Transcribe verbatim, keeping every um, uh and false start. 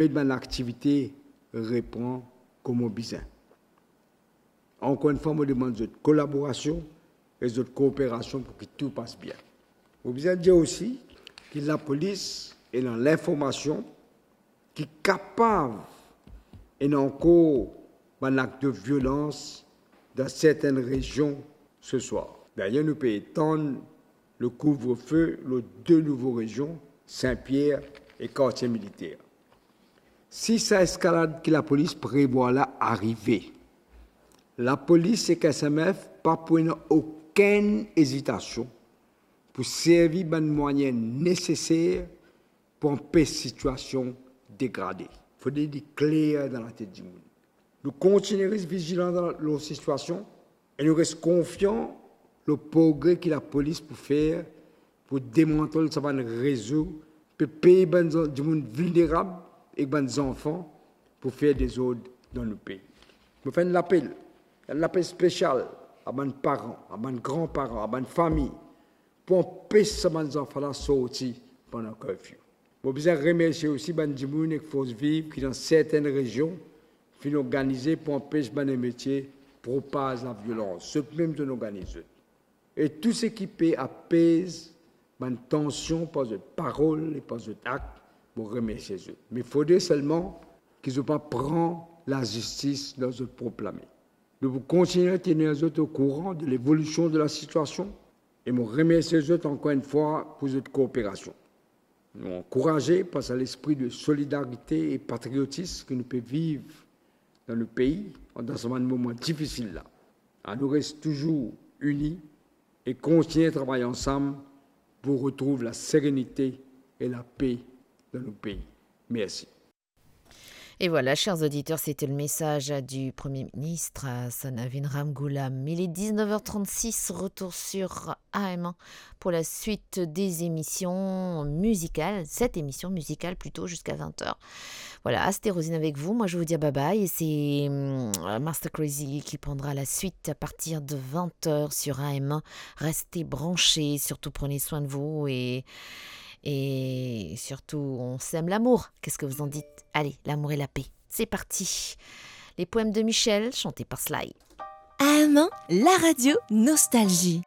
e bann aktivite repran kouma bizin. Ankor enn fwa, mo demann zot kolaborasion e zot kooperasion pou ki tou pas bien. Mo bizin dir osi ki lapolis ena linformasion ki kapav ena ankor bann ak de violans dan sertenn rezion se swar. Dayer, nou pe etann le kouvrefe lor de nouvo rezion, Sin-Pier e Kartie Militer. Si sa eskalad ki lapolis prevwar la arive, lapolis ek S M F pa pou ena okenn ezitasion pou servi bann mwayin neseser pou anpes sitiasion degrade. Fode li kler dan latet dimoun. Nou kontigne res vizilan dan, lor sitiasion e nou res konfian lor progre ki lapolis pou fer pou demantel sa bann rezo pe pey bann zan-, dimoun vilnerab ek bann zanfan pou fer dezord dan nou pei. Mo fer enn lapel, enn lapel spesial a bann paran, a bann granparan, a bann fami, pou anpes sa bann zanfan la sorti pandan curfew. Mo bizin remersie osi bann dimoun ek Force Vive ki dan sertenn rezion finn organize pou anpes bann emetie propaz laviolans. Zot mem zot organiz zot. E tou seki pe apez bann tansion par zot parol e par zot ak, mo remersie zot. Me fode selman ki zot pa pran lazistis dan zot prop lame. Nou pou kontigne tenir zot okouran de levolision de lasitiasion e mo remersie zot ankor enn fwa pou zot kooperasion. Nou ankouraze par sa lespri de solidarite e patriotis ki nou pe viv dan nou pei, dan sa bann moman difisil la. Anou res touzour ini e kontigne travay ansam pou retrouv laserenite e lape dan nou pei. Mersi. Et voilà, chers auditeurs, c'était le message du Premier ministre, Hassan Avin Ramgoolam. Il est dix-neuf heures trente-six, retour sur A M un pour la suite des émissions musicales, cette émission musicale plutôt, jusqu'à vingt heures. Voilà, c'était Rosine avec vous. Moi, je vous dis à bye bye. Et c'est, hum, Master Crazy qui prendra la suite à partir de vingt heures sur A M un. Restez branchés, surtout prenez soin de vous et, et surtout, on sème l'amour. Qu'est-ce que vous en dites ? Allez, l'amour et la paix. C'est parti. Les poèmes de Michel, chantés par Sly. A M un, la radio Nostalgie.